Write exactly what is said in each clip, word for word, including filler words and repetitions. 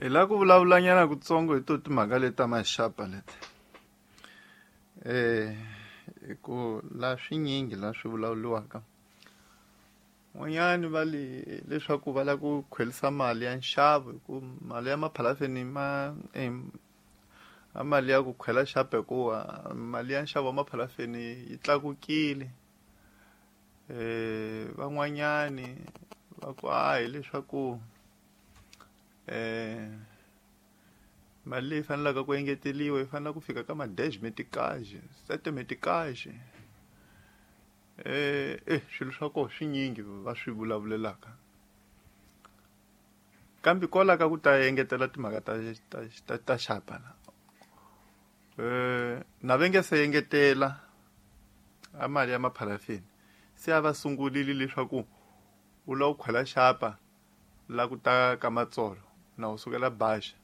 Hi lava ku vulavulanyana kutsongo hi to timhaka leti ta maxapa leti. Eh hi ku la swinyingi la swi vulavuriwaka. N'wanyani va le leswaku va lava ku khwelisa mali ya nxavo hi ku mali ya maphalafeni ma a mali ya ku khwela xapa hikuva mali ya nxavo wa maphalafeni yi tlakukile. Eh van'wanyani va ku a hileswaku eh mali leyi faneleke ku engeteriwa yi fanele ku fika ka ma dez meticage, sete meticage. Eh eh swilo swa koho swinyingi va swi vulavulelaka. Kambe kwala ka ku ta engetela timhaka ta ta ta, ta xapa la. Eh na va nge se engetela a mali ya maphalafeni. Se a va sungurile leswaku u lava ku khwela xapa la ku ta ka Matsolo na u sukela Baxa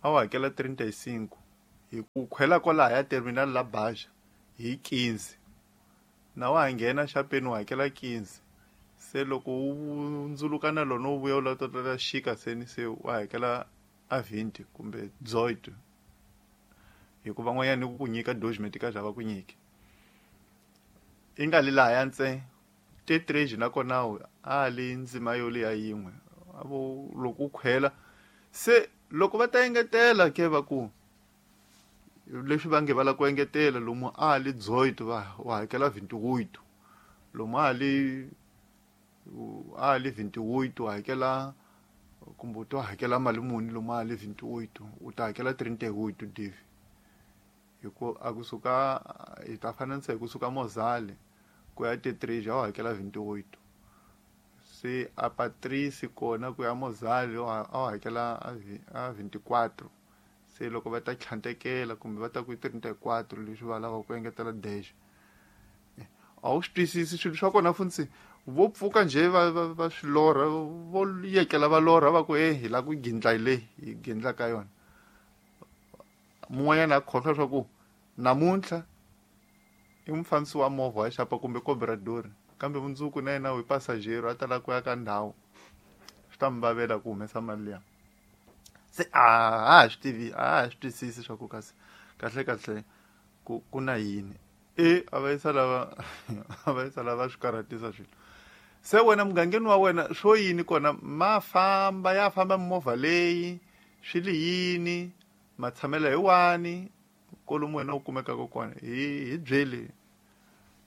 a wu hakela trinta e cinco hi ku khwela kwalaya terminal la Baxa hi quinze na wa ha nghena xapeni u hakela quinze se loko u ndzuluka na lona u vuya u lava ta xika seni se wa hakela a vinte kumbe dezoito hikuva van'wanyana ku ku nyika dois meticage a va ku nyiki i nga li lahaya ntsena T três nakona a li ndzima yo liya yin'we a vo loko u khwela se loko va ta engetela ke va ku leswi va nge va lava ku engetela lomu a li dezoito va wa hakela vinte e oito lomu a li a li vinte e oito wa hakela kumbe u to hakela mali muni lomu a li vinte e oito u ta hakela trinta e oito divi hi ku a kusuka hi ta fananisa hi kusuka Mozale ku ya T três a wu hakela vinte e oito se a Patrice kona ku ya Mozale a wu hakela a vinte e quatro se loko va ta tlhantekela kumbe va ta ku trinta e quatro leswi va lavaka ku engetela dez a wu swi twisisi swilo swa kona funtsi vo pfuka njhe va va va swi lorha vo yekela va lorha va ku e hi lava ku gindla hi leyi hi gindla ka yona mun'wanyana a khohlwa swa ku namuntlha i mufambisi wa movha wa xapa kumbe cobrador kambe mundzuku na yena u pasajero a ta lava ku ya ka ndhawu swi ta mi vavela ku humesa mali liya se a ha swi tivi a ha swi twisisi swa ku kasi kahle kahle ku ku na yini e a va yisa lava a va yisa lava swi karhatisa swilo se wena mugangeni wa wena swo yini kona ma famba ya famba mimovha leyi swi li yini matshamelo hi wani kolomu wena u kumekaka kona hi hi byeli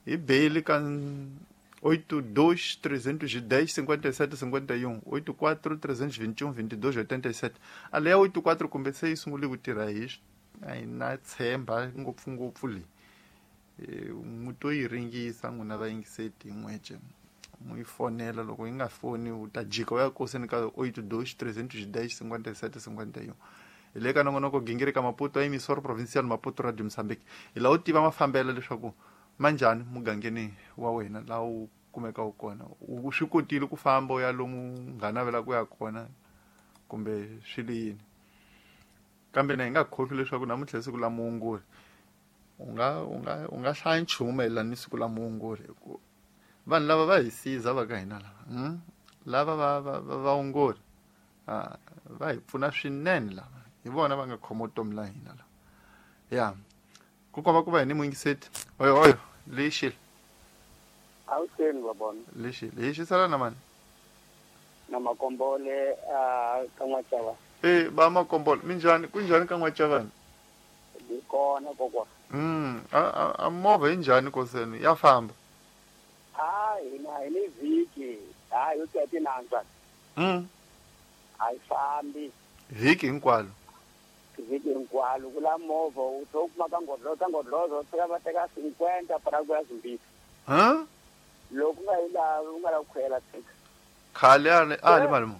hi beli ka oito dois trezentos e dez cinquenta e sete cinquenta e um oito quatro trezentos e vinte e um vinte e dois oitenta e sete a leya oito quatro kumbe se yi sungule ku tirha hi a hi na tshemba ngopfungopfu leyi mu to yi ringisa n'wina vayingiseti hi n'wece mu yi fonela loko yi nga foni u ta jika u ya koseni ka oito dois trezentos e dez cinquenta e sete cinquenta e um hi le ka nongonoko gingirika Maputo a emissora provincial Maputo Radio Mozambique hi lava u tiva mafambelo leswaku manjhani mugangeni wa wena laha u kumekaka kona u swi kotile ku famba u ya lomu nga navela ku ya kona kumbe swi li yini kambe na hi nga khohlwi leswaku namuntlha hi siku la muongori u nga u nga u nga hlaya nchumu mayelana ni siku la muongori hi ku vanhu lava va hi siza va ka hina lava hmm? lava va va va vaongori va hi pfuna swinene lava hi vona va nga khoma vutomi la hina lava ya ku komba ku va hi ni muyingiseti oyo oyo lexile awuseni babona lexile hi xisala na mani na Makombole a ka N'wachava e ba Makombole minjhani ku njhani ka N'wachavani hi kona kokwa mm a a movha yi njhani koseni ya famba a hina hi ni vhiki a yo tiya tinantswa mm a yi fambi vhiki hinkwalo vhiki hinkwalo ku la movha u tlhe u kuma ka ngodloza ngodloza u fika va teka cinquenta para ku ya Zimbabwe ha loko u nga yi lavi u nga lavi ku khwela tshika khale a li a li mali mu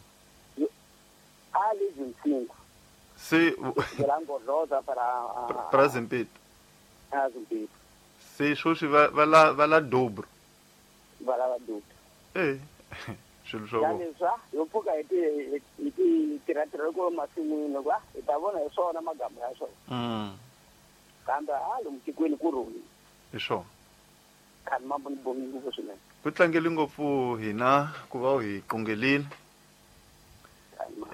a li vinte se la ngodloza para para Zimbabwe a Zimbabwe se sweswi va va la va la dobro va lava dobro eh swilo swa vona leswa yo pfuka hi ti hi ti tirha ko masin'wini kwa hi ta vona hi swona magama ya swona mm kambe a lomu tikweni ku rhuli hi swona khani mambo ni bongi ngopfu swinene ku tlangeli ngopfu hina ku va u hi qungelile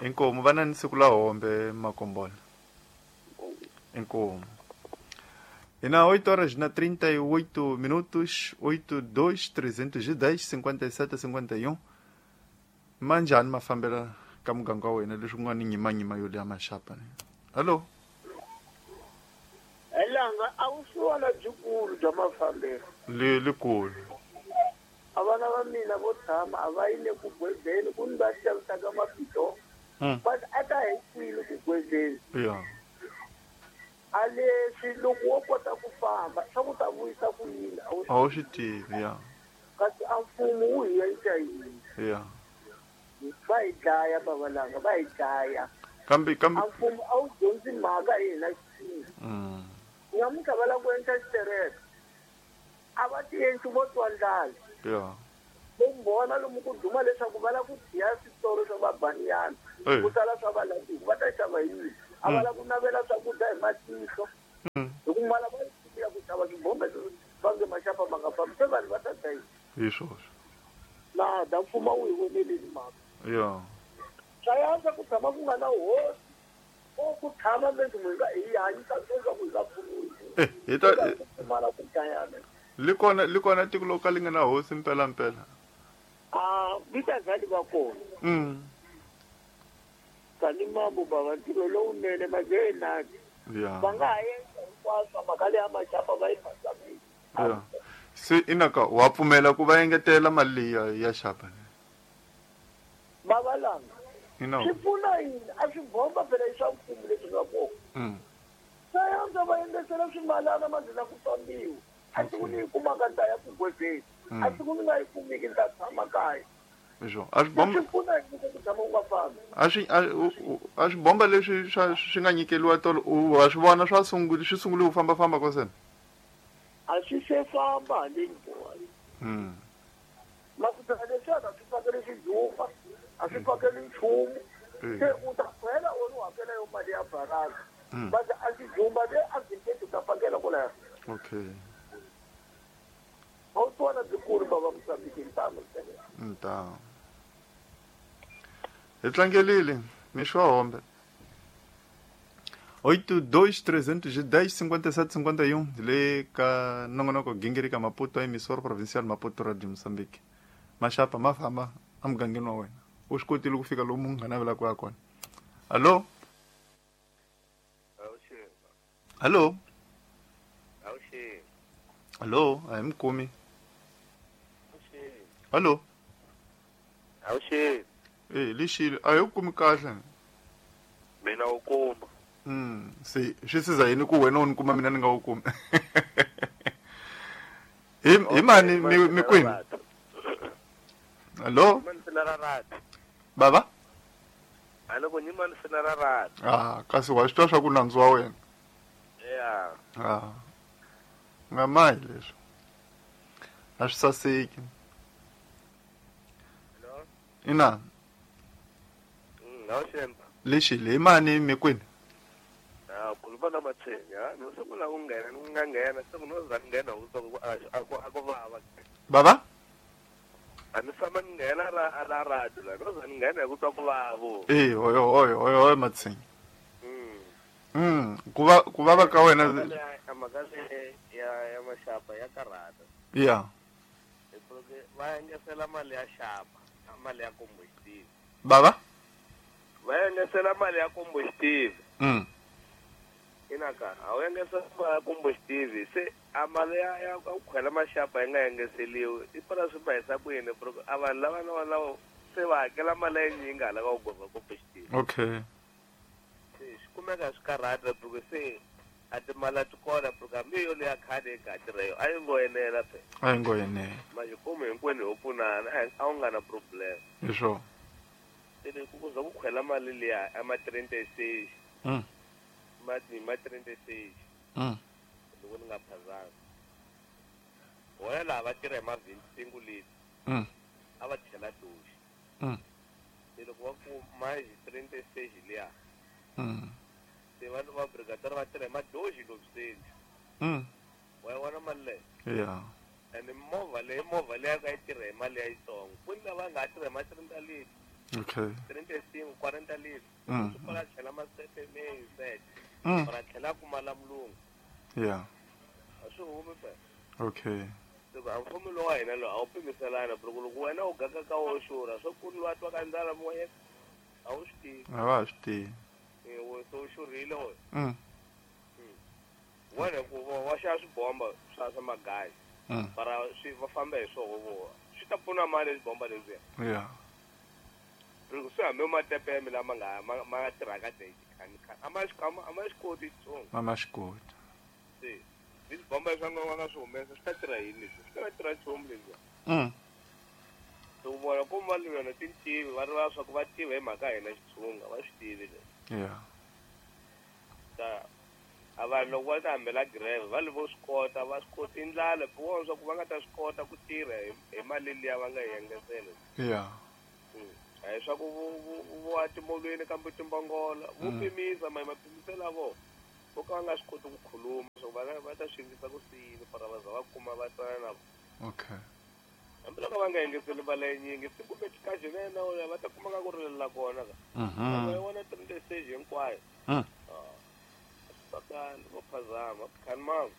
Inkomu va na ni siku la hombe Makombola. Inkomu. E na oito horas na trinta e oito minutos, oito dois trezentos e dez cinquenta e sete cinquenta e um. Manjani mafambela ka muganga wa wena leswi ku nga ni nyimanyima yo leya maxapa ne. Hallo. Elanga a wu siwana byikulu bya mafambelo. Le likulu. A vana va mina vo tshama a va yile ku gwezeni ku ni va xavisaka mapito. But a ta hi kwini ku gwezeni. Yeah. A leswi loko wo kota ku famba swa ku ta vuyisa ku yini a wu swi tivi ya. Kasi a mfumo wu hi endla yini? Yeah. Va hi dlaya babalanga va hi dlaya. Kambe kambe a mfumo a wu dyondzi mhaka hi hina xisini. Mm. Namuntlha va lava ku endla xitereka. A va ti endli vo twa ndlala. Yeah. Vo lomu ku duma leswaku va lava ku dya switolo swa vabaniyana. Ku sala swa valatiku va ta xava yini? A va lava ku navela swakudya hi matihlo. Hi ku mala va ya ku xava swibombe va nge maxapa ma nga fambi se vanhu va ta dya yini? Hi swona. Na da mfumo wu hi voneleni mhaka. Yeah. Swa yantswa ku tshama ku nga na hosi o ku tshama leswi munhu hi hanyisa leswaku hi nga pfuniwi. Eh, hi ta pfumala ku dlayana. Li kona li kona tiko lo ka li nga na hosi mpela mpela. Ah, vita zali va kona. Mm. Tani mambo baba ntirho lowunene majenani. Yeah. Va nga ha endla hinkwaswo mhaka leya maxapa va yi phazamisa. Yeah. Se inaka wa pfumela ku va engetela mali leyi ya, ya xapa ne? Babalanga. Ina. Swi pfuna yini? A swi bomba phela i swa mfumo leswi nga kona. Mm. Sayanza va engetela swimalana ma dlina ku fambiwa. A siku ni yi kumaka ni ta ya ku gwezeni. A siku ni nga yi kumiki ni ta tshama kaya. Swo. A swi bomba swi pfuna yini ku tshama u nga fambi? A swi a swi bomba leswi swa swi nga nyikeliwa tolo u wa swi vona swa sungula swi sungule ku famba famba kosena. A swi se famba handle boy. Mm. Makuta leswi a swi fakeli xijumba, a swi fakeli nchumu. Se u ta khwela u ri hakela yo mali ya baraka. But a xijumba le a byi ta fakela kwalaho. Okay. A wu twana byikulu bava Mozambique ntamu ntamu. Hi tlangelile mixo wa hombe. oito dois trezentos e dez cinquenta e sete cinquenta e um le ka nongonoko gingirika Maputo emissora provincial Maputo Radio Moçambique. Maxapa ma famba emugangeni wa wena. U swi kotile ku fika lomu nga navela ku ya kona. Allo? Allo? Allo, a hi mi kumi. Allo? Awuxi. Eh, lexile a hi ku kumi kahle. Mina u kuma. Mm, se swi siza yini ku wena u ni kuma mina ni nga wu kumi? Hi hi mani mi mi kwini? Allo? Baba? Allo ku ni mani sina ra rata. Ah, kasi wa swi twa swa ku nandzu wa wena. Yeah. Ah. Nga mayi leswi. A swi saseki. Hello? Ina. Mm, awuxemba. Lexile hi mani mi kwini? Ah, khuluma na Matsenya, no sungula ku nghena, ni nga nghena, se ku no za nghena u twa ku a ku a ku vava. Baba? A ni tshama ni nghena ra ra radio la, no za ni nghena hi ku twa ku vava. Eh, oyo oyo oyo oyo Matsenya. Mm. Mm, ku va ku vava ka wena mhaka le ya ya maxapa ya karhata. Yeah. Hikuva va engetela mali ya xapa, mali ya combustible. Baba? Va engetela mali ya combustible. Mm. Inaka, a wu engetela mali ya combustible, se a mali ya ya ku khwela maxapa yi nga engeteliwi. I pfala swi va hisa ku yini a vanhu lava na vona se va hakela mali ya yinyingi hala ka ku gova combustible. Okay. Se swi kumeka swi karhata because se a timali a ti kona porque hambi yo leya khadi yi nga tirha yo a yi ngo enela phela. A yi ngo enela. Majikumu hinkwenu ho pfunana a wu nga na problem. Hi swona. Se ku ku za ku khwela mali liya a ma trente-seis. Mm. Ma ma trente-seis. Mm. Loko ni nga phazanga. Wona laha va tirha hi ma vingt-cinco litri. Mm. A va chela doxi. Mm. Se loko va ku ma hi trente-seis liya. Mm. Se va va brigadier va tirha hi madoxi lokuseni. Mm. Wa yi vona mali leyi? Yeah. Ene movha leyi movha leyi ka yi tirha hi mali ya yitsongo. Ku ni lava nga tirha hi ma trente litri. Okay. trinta e cinco, quarenta litros. Mm. Para tlhela masete meio sete. Mm. Para tlhela kuma la mulungu. Yeah. A swi humi phela. Okay. Loko a mfumo lowu wa hina lowu a wu pimiselana loko loko wena u ganga ka wo xurha swo ku lwa twa ka ndlala moyeni a wu swi tivi. A va swi tivi. Eh wo so xurhile wena. Mm. Wena ku va xava swibomba swa swa magayi. Mm. Para swi va famba hi swoho vo. Swi ta pfuna mali swibomba leswiya. Yeah. Loko swi hambi matepeme lama nga ma ma tirhaka day khani khani a ma swi a ma swi koti xitsongo. A ma swi koti. Se leswi bomba swa nga nga swi humesa swi ta tirha yini leswi swi ta tirha nchumu leswiya. Mm. Loko vona ku va yona tintivi va rivala swa ku va tiva hi mhaka hina Xitsonga va swi tivi leswi. Yeah. Ta a vanhu loko va ta hambela greve va le vo swi kota va swi koti ndlala ku vona swa ku va nga ta swi kota ku tirha hi mali liya va nga yi engetela. Yeah. A hi swa ku vo timolweni kambe timbongola vo pimisa ma mapimiselo ya vona vo ka va nga swi koti ku khuluma swa ku va va ta swi endlisa ku siyini para va za va kuma va twana na vona. Okay. Hambiloko va nga engeteli mali yinyingi siku metikaji na yena va ta kuma nga ku rilela kona ka. Mhm. Va vona trinta stage hinkwayo. Mm. Bakani vo phazama khani mangu.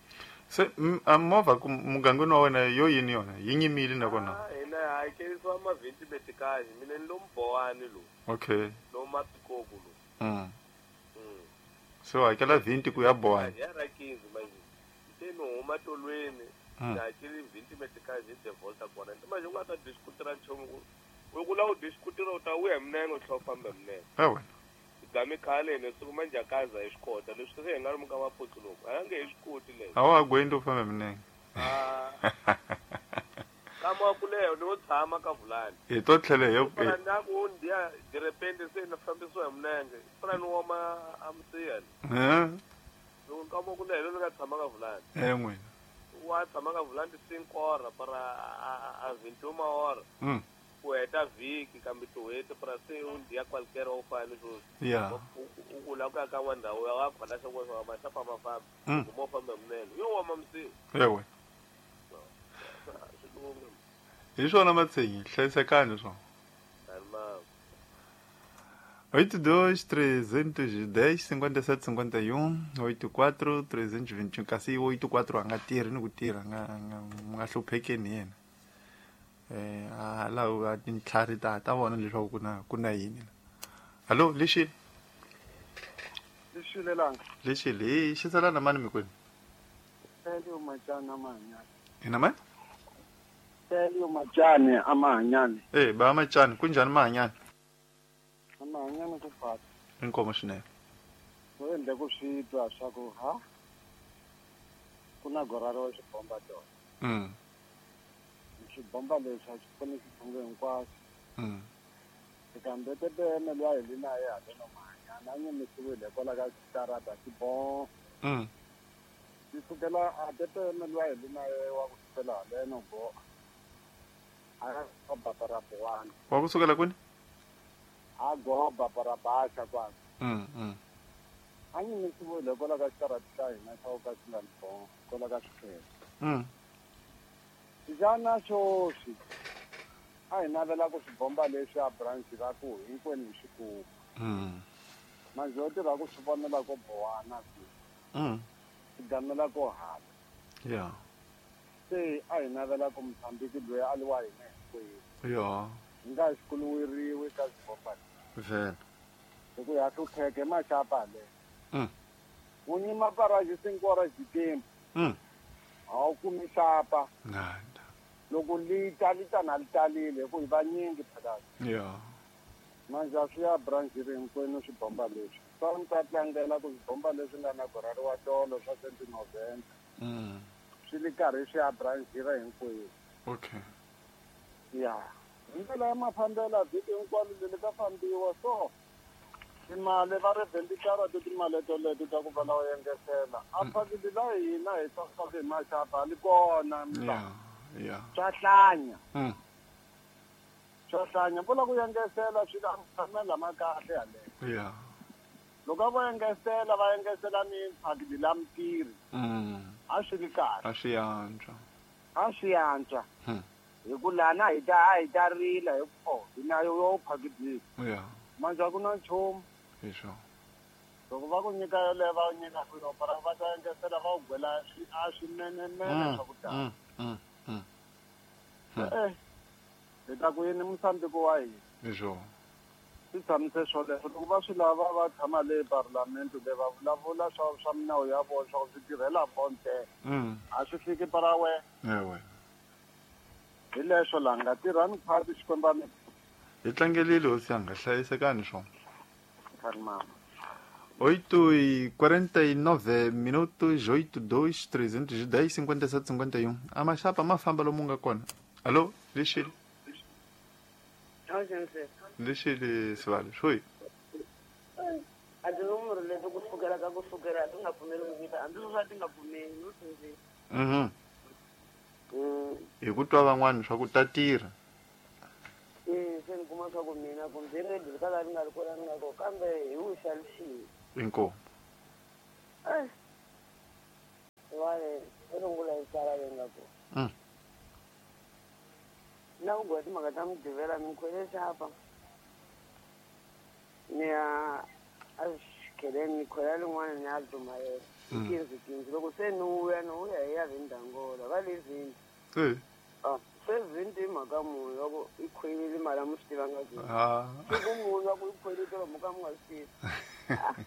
Se a movha ku mugangeni wa wena yo yini yona yi nyimile nakona. Ah hina hakelisiwa mavhenti metikaji mina ni lomu Bowani lowu. Okay. Lomu Mapikoku lowu. Mm. Mm. So hakela vhenti ku ya Bowani. Ya ra quinze manje. Se ni huma tolweni. Mm. Hakeli vhenti metikaji de volta kona. Manje u nga ta diskutira nchumu ku u ku la u diskutira u ta vuya hi minenge u tlhela u famba hi minenge. E wena. Gami khale ne siku manje akaza hi swi kota leswi se hi nga ri muka maputsu loko a nge hi swi koti leswi. A wa gwendi u famba minenge. Ah. Kama ku leyo ni wo tshama ka Vulani. Hi to tlhela hi Para na ku ndiya de repente se na fambisiwa hi minenge. Para ni woma a msiya. Eh. Loko kama ku leyo ni nga tshama ka Vulani. Eh n'wina. Wa tshama ka Vulani cinco hora para a vinte e uma hora. Mm. Ku heta vhiki kambe tin'hweti para se u ndiya qualquer u fane sweswi. Yeah. U ku la ku ya ka n'wa ndhawu ya wa khona swa ku maxapa ma famba. Mm. Ku mo famba hi minenge. Yo woma msiya. Ewe. Hi swona Matsenyi hlayisekani swona. oito dois, trezentos e dez, cinquenta e sete, cinquenta e um, oito quatro, trezentos e vinte e um. Kasi oito quatro a nga tirhi ni ku tirha nga nga nga hluphekeni yena. Eh a la a tintlhari ta ta vona leswaku ku na ku na yini. Hallo, lexi. Lexile langa. Lexile, hi xisela na mani mikwenu? Elio Machana Mahanyane. Ina mani? Elio Machane a Mahanyane. Eh, ba Machane, kunjhani Mahanyane? Mahanyane ku fata. Inkomo swinene. Wo endla ku swi twa swa ku ha ku na goraro wa xibomba tona. Mm. Xibomba leswi a xi pfuni xitshungu hinkwaswo. Mm. Kambe tepeme luya hi li na ye haleno Mahanyane a nyimisiwile hikwalaho ka xitarata xibomba. Mm. Xi sukela a tepeme luya hi li na ye wa ku sukela haleno go a goba para Bowani. Wa ku sukela kwini? A goba para Baxa kwani. Mm mm. A nyimisiwile hikwalaho ka xitarata xa hina xa ku ka xi nga ni bomba hikwalaho ka swikhele. Mm. Xana sweswi a hi navela ku swibomba leswi a branch ra ku hinkwenu hi swi kuma. Mm. Manje ho tirha ku swi vonela ko Bowana ku. Mm. Swi gamela ko hala. Yeah. Se a hi navela ku Mozambique loyi a li wa hina hinkwenu. Yeah. Hi nga xi kuluweriwi ka swibomba leswi. Vhele. Hi ku ya hlupheka hi maxapa le. Mm. Wu nyima paraji cinco horas de tempo. Mm. A wu kumi xapa. Nada. Loko li ta li ta na li talile hi ku hi vanyingi phakathi. Yeah. Manje a swi ya branch ri hinkwenu swibomba leswi. Swa ni ta tlangela ku swibomba leswi nga na gorari wa tolo swa twenty noventa. Mm. Swi li karhi swi ya branch ra hinkwenu. Okay. Yeah. Hi ndlela ya mafambelo vhiki hinkwalo leli ka fambiwa so timali va ri vhentitara timali toleto ta ku va la engetela. A phakeli la hina hi swa hi maxapa li kona. Yeah. Yeah. Swa hlanya. Mm. Swa hlanya vula ku engetela swi la mafambelo ma kahle yaleyo. Yeah. Loko va engetela va engetela ni phakeli la mitirhi. Mm. A swi ri kahle. A swi antswa. A swi antswa. Hmm. Hi ku lana hi ta a hi ta rila hi ku hi na yo phakidini. Yeah. Manje a ku na nchumu. Hi swona. Loko va ku nyika yoleyo va ku nyika swilo para va ta engetela va ku gwela a swinenemene swa ku tala. Mm. Mm. Eh. Hi ta ku yini Mosambiki wa hina. Hi swona. Swi tshamise swoleswo loko va swi lava va tshama le parlamento le va vulavula swa swa minawu ya vona swa ku swi tirhela vona ntsena. A swi fiki para wena. Ewe. Hi leswo la nga tirhani khwati Xikwembu a mi. Hi tlangelile hosi yanga hlayisekani swona. Khani mama. oito e quarenta e nove minutos, oito, dois, trezentos e dez, cinquenta e sete, cinquenta e um. A maxapa ma famba lomu nga kona. Alô, lixile. Lixile Sivale, xoi. A tinumero leti ku sukela ka ku sukela ti nga pfumeli ku vita hambi swo ti nga pfumeli no sindzisa. Mhm. Hi ku twa van'wana swa ku ta tirha. Eh, se ni kuma swa ku mina kumbe ready ka laha ni nga ri kona ni nga kona kambe hi wuxalixini. Inkomu. Eh. Vale, i rungula hi sala leyi nga kona. Mm. Na ku gwa timhaka ta Mugqivela ni khwele xapa. Ni ya a xikheleni ni khwela lin'wana ni ya dzumayela. Kinzi kinzi loko se ni vuya ni vuya hi ya Vindangola va le Vindi. Eh. Ah, se Vindi hi mhaka munhu loko i khwelile mali a mi swi tivanga ke. Ah. Siku munhu loko i khwelile va muka mi nga swi tivi.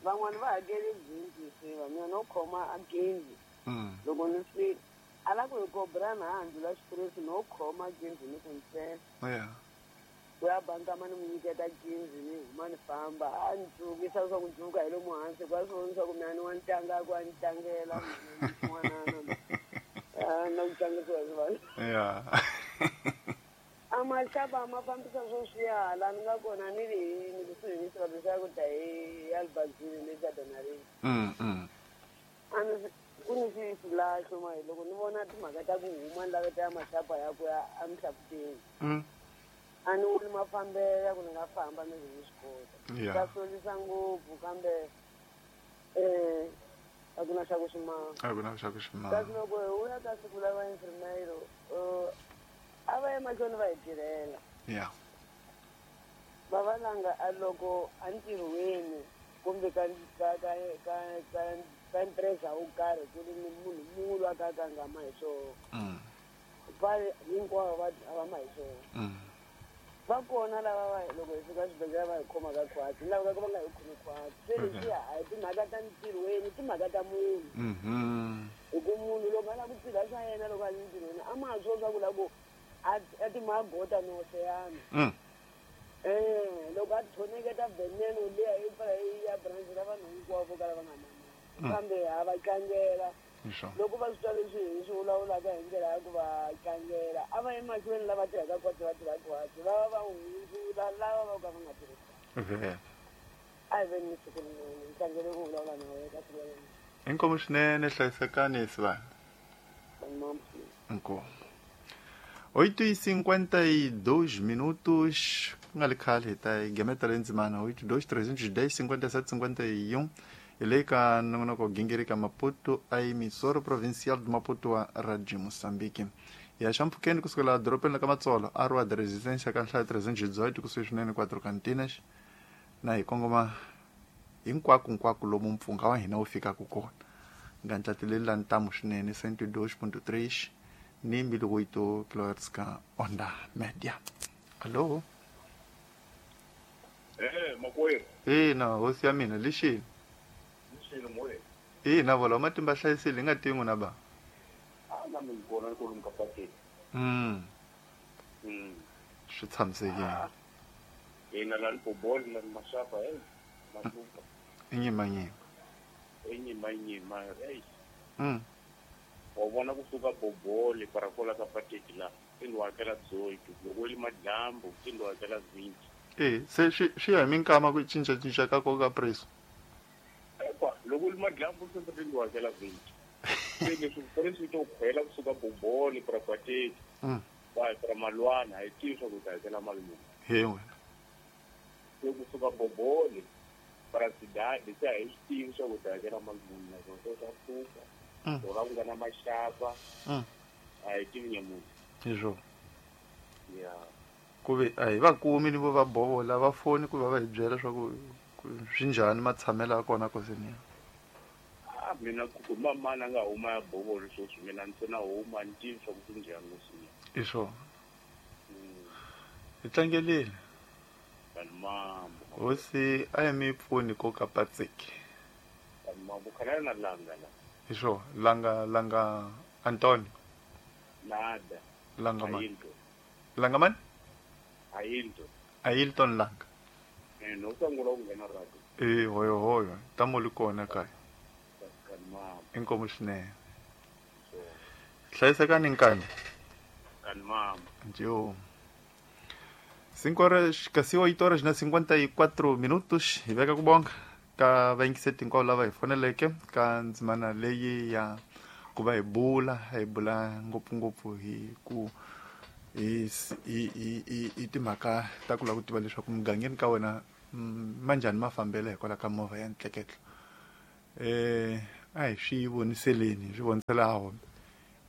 Van'wani va hakeli Vindi se va mina no khoma a Ginzi. Loko ni fika a la ku hi kobrana a ndlula xitiresi no khoma Ginzi ni ku ntsena. Yeah. Ku ya bankama ni n'wi nyiketa Ginzi ni huma ni famba a ni tsukisa leswaku ni dzuka hi lomu hansi ku a swi vona leswaku mina ni wa ni tlanga ku a ni tlangela n'wanana na ku tlangisiwa hi vanhu. Yeah. A maxapa ma fambisa swo swiya laha ni nga kona ni ri ni kusuhi ni xivandla xa ku ta hi Albazini le Gadanareni. Mm mm. A ni ku ni xilahlo ma loko ni vona timhaka ta ku huma ni laveta ya maxapa ya ku ya eMhlabuteni. Mm. A ni voni mafambelo ya ku ni nga famba ni ni swi kota. Yeah. Swa solisa ngopfu kambe eh a ku na xa ku xi maka. A ku na xa ku xi maka. Kasi loko hi vuya ka siku la va infirmero a va ya mahlweni va hi tirhela. Yeah. Va valanga a loko a ntirhweni kumbe ka ka ka ka ka ka empresa wo karhi ku ri ni munhu munhu a ka ka nga ma hi swona. Mm. Va hinkwavo va a va ma hi swona. Mm. Va kona lava va loko hi fika xibedhlele va hi khomaka khwatsi lava ka va nga hi khomi khwatsi se leswiya a hi timhaka ta ntirhweni timhaka ta munhu. Mhm. Hi ku munhu loko a lava ku tirha swa yena loko a ri ntirhweni a ma ha swo swa ku la ku a a timagota no oseyana. Mm. Eh, loko a thoneketa veneno liya yi pfala yi ya branch la vanhu hinkwavo vo kala va nga na kambe ha va tlangela. Loko va swi twa leswi hi swi vulavulaka hi ndlela ya ku va tlangela a va emahlweni lava tirhaka khwatsi va tirha khwatsi va va va hundzula lava va ka va nga tirhi Vhele. A hi veni ni siku rin'wana ni tlangele ku vulavula na wena ka siku ra namuntlha. Inkomu swinene hlayisekani Sivana. Mama. Inkomu. oito e cinquenta e dois minutos, ku nga ri khale hi ta hi gemeta le ndzimana oito dois trezentos e dez cinquenta e sete cinquenta e um hi le ka nongonoko gingirika Maputo a emissora provincial de Maputo wa Radio Moçambique. Ya xampfhukeni kusukela dorobeni la ka Matsolo a Rua da Resistência ka nhlayo trezentos e dezoito kusuhi swinene quatro Cantinas na hi kongoma hinkwako-nkwako lomu mpfungha wa hina wu fikaka kona nga ntlatileli la ntamu swinene cento e dois ponto três ni mbili oito kilohertz ka onda média. Alô? Eh, makwerhu. Ina, hosi ya mina lixini. Lixini moya. Ina, vola matimba hlayisile hi nga tivi n'wina ba. A na mi kona ku lumka pateni. Mm. Mm. Swi tshamisekile. Ina la bolo na maxapa eh mahluka. Inyima nyima. Inyima nyima eh. Mm. Wa vona kusuka bobole para kola ka pateti la tindlu hakela dezoito loko li madyambu tindlu hakela vinte. Eh, se swi swi ya hi minkama ku cinca cinca ka koka preço. Ekwa loko li madyambu se tindlu hakela vinte. Se leswi preço to khwela kusuka bobole para pateti. Mm. Wa para malwana hi tivi swa ku ta hakela mali muni. He wena. Se kusuka bobole para cidade se a hi swi tivi swa ku ta hakela mali muni naswona swa pfuka. Mm. Loko ku nga na maxapa Mm. a hi tivi nyamunhu. Hi swona. Ya. Ku ve a hi va kumi ni vo va bovola va foni ku va va hi byela swa ku swi njhani matshamelo ya kona kosini. Ah mina ku mama nga huma ya bovolo sweswi mina ntsena huma ni tivi swa ku swi njhani kosini. I swona. Hi tlangelile. Mambo. Hosi a yi mi pfuni ko ka patsiki. Mambo khala na langa la. Hi swona langa langa Antonio. Nada. Langa man. Langa man? Ailton. Ailton Langa. Eh no sangula ku nghena radio. Eh hoyo hoyo tamo li kona kaya. Inkomo swinene. Hlayisekani nkani. Kani mama. Njo. Cinco horas, casi oito horas na cinquenta e quatro minutos. Hi veka ku bonga ka vayingiseti hinkwavo lava hi foneleke ka ndzimana leyi ya ku va hi bula hi bula ngopfungopfu hi ku hi hi hi hi timhaka ta ku lava ku tiva leswaku mugangeni ka wena manjhani mafambelo hikwalaho ka movha ya ntleketlo. Eh a hi swi voniseleni hi swi vonisela hombe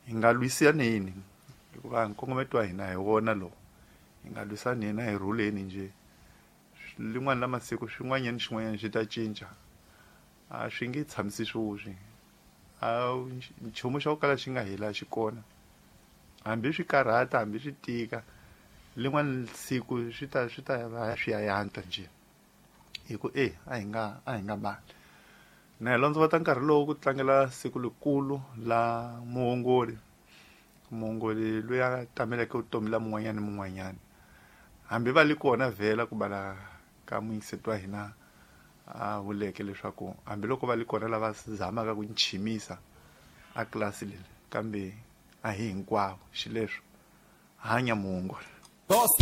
hi nga lwisaneni hikuva nkongometo wa hina hi wona lowu. Hi nga lwisaneni a hi rhuleni njhe lin'wana la masiku swin'wanyana xin'wanyana xi ta cinca a swi nge tshamisi swoswi a nchumu xa ku kala xi nga hela xi kona hambi swi karhata hambi swi tika lin'wana siku swi ta swi ta va swi ya yantswa njhe hi ku e a hi nga a hi nga bali na hi londzovota nkarhi lowu ku tlangela siku likulu la muongori muongori loyi a tameleke vutomi la mun'wanyana ni mun'wanyana hambi va li kona vhela ku bala ka muyingiseti wa hina a vuleke leswaku hambiloko va li kona lava zamaka ku nchimisa a klasi leri kambe a hi hinkwavo xileswo hanya muongori.